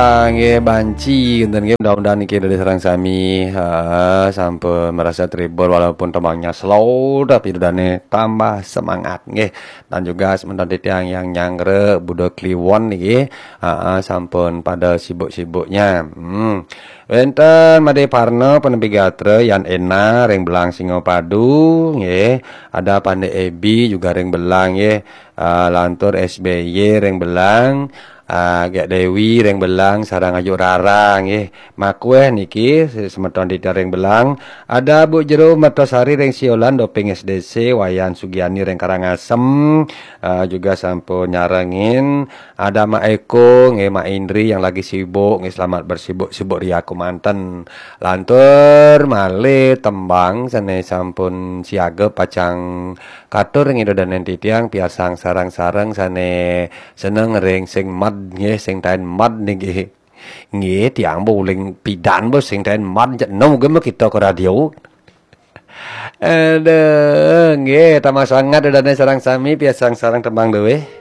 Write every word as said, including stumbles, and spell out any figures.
Ah, nggih, banci kinten nggih, mudah-mudahan niki Ida dané sareng sami, heeh, sampun merasa terhibur walaupun tembangnya slow, tapi Ida dané tambah semangat nggih. Dan juga semeton titiang yang nyanggra Buda Kliwon niki, heeh, sampun pada sibuk-sibuknya. Hmm. Wénten Madé Parna, Penepi Gatra, Yan Ena ring Belang Singapadu nggih. Ada Pandé Ebi juga ring Belang nggih. Ah, lantur S B Y ring Belang. Ah, Gek Dewi ring Belang sareng Ayu Rara nggih. Makuéh niki semeton titiang ring Belang. Ada Bu Jero Mertosari ring Siolan, Doping S D C, Wayan Sugiani ring Karangasem. Ah, juga sampun nyarengin. Ada Mak Eko nggih, Mak Indri yang lagi sibuk nggih, selamat bersibuk-sibuk ria kemanten. Lantur malih tembang sané sampun siaga pacang katur ring Ida dané titiang, piarsang sareng-sareng sané seneng ring sing med nggih, sing taén med niki. Nggih, tiang bo uling pidan bo sing taén med, cek nom gé kita ke radio. Aduh, nggih, tambah semangat Ida dané sareng sami, piarsang sareng tembang duwé.